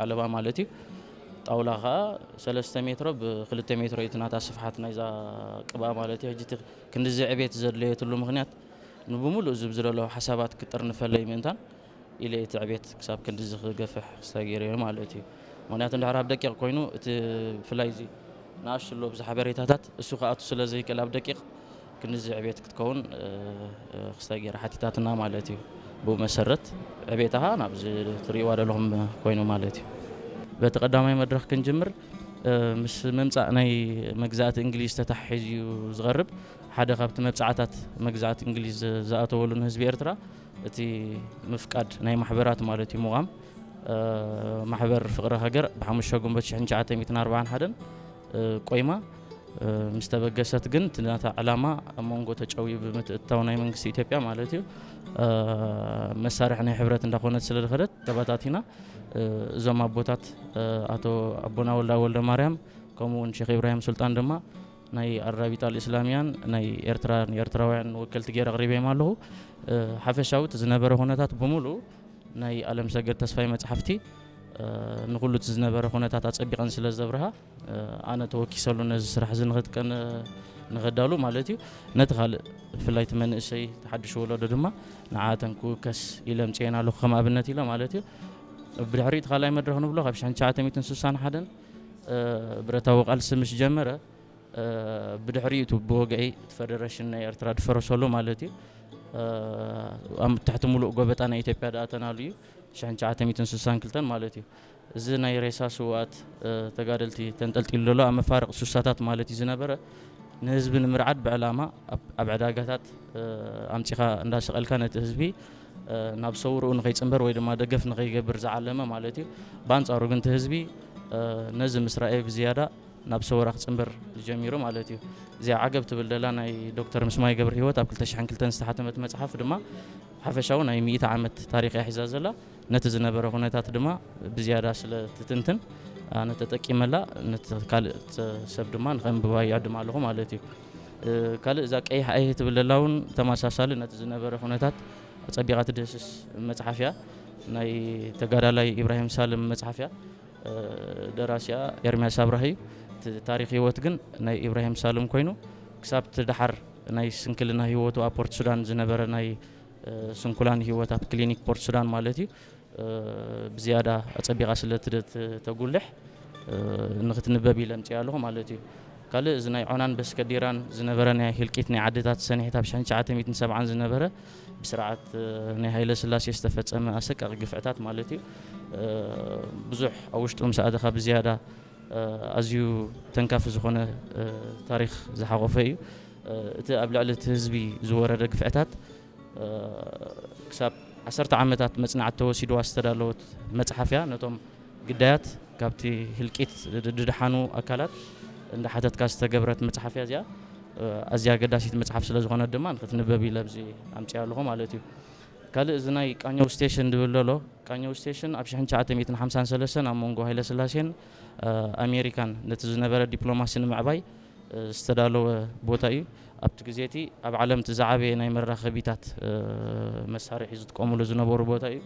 ዓለባ ማለት እዩ። ጣውላ ከዓ ሰለስተ ሜትሮ ብክልተ ሜትሮ እዩ እቲ ናታ ስፍሓት ናይዛ ቅብኣ ማለት እዩ። ሕጂ እቲ ክንድዚ ዕቤት ዘድለየትሉ ምኽንያት ንብምሉእ እዚ ብዘለዉ ሓሳባት ክጥርንፈለይ ምእንታን ኢለ እቲ ዕቤት ክሳብ ክንድዚ ክገፍሕ ክስታይ ገይረ ማለት እዩ። ምኽንያቱ እንድሕር ኣብ ደቂቕ ኮይኑ እቲ ብፍላይ እዚ ንኣሽቱ ኣሎ ብዚ ሓበሬታታት እሱ ክኣቱ ስለ ዘይክእል ኣብ ደቂቕ ክንድዚ ዕቤት ክትከውን ክስታይ ገይረ ሓቲታትና ማለት እዩ። ብኡ መሰረት ዕቤታኻ ናብዚ ትርእይዋ ዘለኹም ኮይኑ ማለት እዩ። በቲ ቀዳማይ መድረኽ ክንጅምር ምስ ምምፃእ ናይ መግዛእቲ እንግሊዝ ተታሒዙ እዩ ዝቐርብ። ሓደ ካብቲ መብፃዕታት መግዛእቲ እንግሊዝ ዝኣተወሉ ንህዝቢ ኤርትራ እቲ ምፍቃድ ናይ ማሕበራት ማለት እዩ። ምቋም ማሕበር ፍቕሪ ሃገር ብሓሙሽተ ግንቦት ሽሕን ትሽዓተ ሚእትን ኣርባዓን ሓደን ቆይማ ምስ ተበገሰት ግን እቲ ናታ ዕላማ ኣብ መንጎ ተጨውዩ ብምትእትታው ናይ መንግስቲ ኢትዮጵያ ማለት እዩ መሳርሒ ናይ ሕብረት እንዳኾነት ስለ ዝኸደት ተበታቲና። እዞም ኣቦታት ኣቶ ኣቦና ወልዳ ወልደ ማርያም ከምኡ እውን ሼክ ኢብራሂም ሱልጣን ድማ ናይ ኣራቢጣ ልእስላሚያን ናይ ኤርትራ ንኤርትራውያን ወከልቲ ገይረ ኣቕሪበዮም ኣለኹ። ሓፈሻዊ እቲ ዝነበረ ኩነታት ብምሉእ ናይ ኣለም ሰገድ ተስፋይ መጽሓፍቲ ንኩሉ እቲ ዝነበረ ኩነታት ኣጸቢቐን ስለ ዘብርሃ ኣነ ተወኪሰሉ ነዚ ስራሕ እዚ ንክጥቀን ንኸዳሉ ማለት እዩ። ነቲ ካልእ ብፍላይ እቲ መንእሰይ ተሓድሽ ወለዶ ድማ ንዓተን ክውከስ ኢለ ምፅኤን ኣለኹ ከም ኣብነት ኢለ ማለት እዩ። ብድሕሪኡ እቲ ካልኣይ መድረኽ ንብሎ ካብ ሽሕን ትሽዓተ ሚእትን ስሳን ሓደን ብረታዊ ቃልሲ ምስ ጀመረ ብድሕሪኡ እቲ ብወግዒ እቲ ፈደረሽን ናይ ኤርትራ ድፈረሰሉ ማለት እዩ። ኣብ ትሕቲ ሙሉእ ጎበጣ ናይ ኢትዮጵያ ደኣ ተናሉ እዩ። ሽሕን ትሽዓተ ሚእትን ስሳን ክልተን ማለት እዩ። እዚ ናይ ሬሳ ስውኣት ተጋደልቲ ተንጠልጢሉ ዘሎ ኣብ መፋርቕ ሱሳታት ማለት እዩ ዝነበረ ንህዝቢ ንምርዓድ ብዕላማ ኣብ ዕዳጋታት ኣምፂኻ እንዳሰቐልካ ነቲ ህዝቢ ናብ ሰውርኡ ንኸይፅንበር ወይ ድማ ደገፍ ንኸይገብር ዝዓለመ ማለት እዩ። ብኣንፃሩ ግን እቲ ህዝቢ ነዚ ምስ ረኣየ ብዝያዳ ናብ ሰውራ ክፅንበር ጀሚሩ ማለት እዩ። እዚኣ ዓገብ ትብል ደላ ናይ ዶክተር ምስማይ ገብረ ህይወት ኣብ ክልተ ሽሕን ክልተን ዝተሓተመት መፅሓፍ ድማ ሓፈሻዊ ናይ ሚእቲ ዓመት ታሪኽ እያ ሒዛ ዘላ። ነቲ ዝነበረ ኩነታት ድማ ብዝያዳ ስለ ትትንትን ኣነ ተጠቂመላ ነቲ ካልእ ሰብ ድማ ንኸንብባ ይዕድም ኣለኹ ማለት እዩ። ካልእ እዛ ቀይሕ ኣይህ ትብል ደላ እውን ተመሳሳሊ ነቲ ዝነበረ ኩነታት ኣጸቢቓ ትድህስስ መጽሓፍ እያ። ናይ ተጋዳላይ ኢብራሂም ሳልም መጽሓፍ እያ። ደራሲኣ ኤርምያስ ኣብራህ እዩ። እቲ ታሪኽ ህይወት ግን ናይ ኢብራሂም ሳልም ኮይኑ ክሳብ እቲ ደሓር ናይ ስንክልና ህይወቱ ኣብ ፖርት ሱዳን ዝነበረ ናይ ስንኩላን ህይወት ኣብ ክሊኒክ ፖርት ሱዳን ማለት እዩ ብዝያዳ ኣጸቢቓ ስለ ተጉልሕ ንክትንበብ ኢለ ኣምፅኣ ኣለኹ ማለት እዩ። ካልእ እዚ ናይ ዖናን በስከዲራን ዝነበረ ናይ ህልቂት ናይ ዓድታት ሰኒሕት ኣብ ሽሕን ትሽዓተ ሚእትን ሰብዓን ዝነበረ ብስርዓት ናይ ሃይለ ስላሴ ዝተፈጸመ ኣሰቃቂ ግፍዕታት ማለት እዩ። ብዙሕ ኣብ ውሽጡ ምስ ኣተኻ ብዝያዳ ኣዝዩ ተንካፊ ዝኾነ ታሪኽ ዝሓቆፈ እዩ። እቲ ኣብ ልዕሊ እቲ ህዝቢ ዝወረደ ግፍዕታት ክሳብ ዓሰርተ ዓመታት መጽናዕቲ ተወሲድዋ ዝተዳለወት መጽሓፍ እያ። ነቶም ግዳያት ካብቲ ህልቂት ድድሓኑ ኣካላት እንዳሓተትካ ዝተገብረት መጽሓፍ እያ እዚኣ። ኣዝያ ኣገዳሲት መጽሓፍ ስለ ዝኾነት ድማ ንክትንበብ ኢለ ኣብዚ ኣምፅኣ ኣለኹ ማለት እዩ። ካልእ እዚ ናይ ቃኘው ስቴሽን ድብል ዘሎ ቃኘው ስቴሽን ኣብ ሽሕን ትሽዓተ ሚእትን ሓምሳን ሰለስተን ኣብ መንጎ ሃይለ ስላሴን ኣሜሪካን ነቲ ዝነበረ ዲፕሎማሲ ንምዕባይ ዝተዳለወ ቦታ እዩ። ኣብቲ ግዜ እቲ ኣብ ዓለም እቲ ዝዓበየ ናይ መራኸቢታት መሳርሒ ዝጥቀሙሉ ዝነበሩ ቦታ እዩ።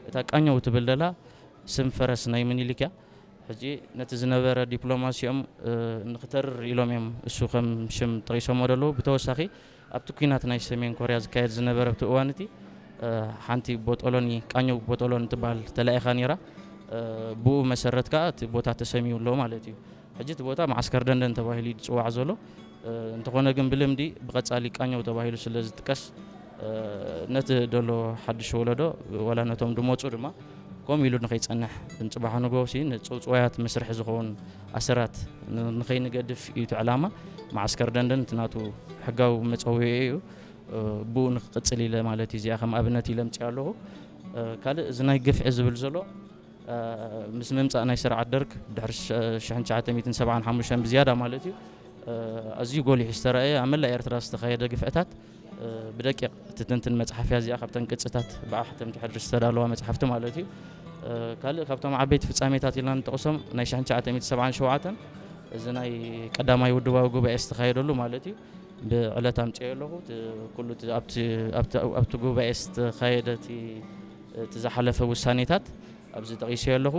እታ ቃኘው ትብል ደላ ስም ፈረስ ናይ ምኒልክ እያ። ሕጂ ነቲ ዝነበረ ዲፕሎማሲኦም ንክተርር ኢሎም እዮም እሱ ከም ሽም ጠቂሶሞ ደለዉ። ብተወሳኺ ኣብቲ ኲናት ናይ ሰሜን ኮርያ ዝካየድ ዝነበረ ኣብቲ እዋን እቲ ሓንቲ ቦጦሎኒ ቃኘው ቦጦሎኒ ትበሃል ተላኢኻ ነይራ። ብኡ መሰረት ከዓ እቲ ቦታ ተሰሚዩ ኣሎ ማለት እዩ። ሕጂ እቲ ቦታ መዓስከር ደንደን ተባሂሉ እዩ ዝፅዋዕ ዘሎ። እንተኾነ ግን ብልምዲ ብቐፃሊ ቃኘው ተባሂሉ ስለ ዝጥቀስ ነቲ ደሎ ሓድሽ ወለዶ ዋላ ነቶም ድመፁ ድማ ከምኡ ኢሉ ንኸይፀንሕ ንፅባሕ ንጎሲ ንፅውፅዋያት መስርሒ ዝኸውን ኣሰራት ንኸይንገድፍ እዩ እቲ ዕላማ። መዓስከር ደንደን እቲ ናቱ ሕጋዊ መፀውዒ እዩ። ብኡ ንክቕፅል ኢለ ማለት እዩ እዚኣ ከም ኣብነት ኢለ ምፅእ ኣለኹ። ካልእ እዚ ናይ ግፍዒ ዝብል ዘሎ ምስ ምምፃእ ናይ ስርዓት ደርግ ድሕሪ ሽሕን ትሽዓተ ሚእትን ሰብዓን ሓሙሽተን ብዝያዳ ማለት እዩ ኣዝዩ ጎሊሑ ዝተረኣየ ኣብ መላእ ኤርትራ ዝተኻየደ ግፍዕታት ብደቂቕ ትትንትን መፅሓፍያ እዚኣ ካብተን ቅፅታት ብኣሕተምቲ ሕድሪ ዝተዳለዋ መፅሓፍቲ ማለት እዩ። ካልእ ካብቶም ዓበይቲ ፍፃሜታት ኢልና ንጠቕሶም ናይ ሽሕን ትሽዓተ ሚእትን ሰብዓን ሸውዓተን እዚ ናይ ቀዳማይ ውድባዊ ጉባኤ ዝተኻየደሉ ማለት እዩ። ብዕለት ኣምፅኦ ኣለኹ ኩሉ ኣብቲ ጉባኤ ዝተኻየደ እቲ ዝሓለፈ ውሳኔታት ኣብዚ ጠቒሰ ኣለኹ።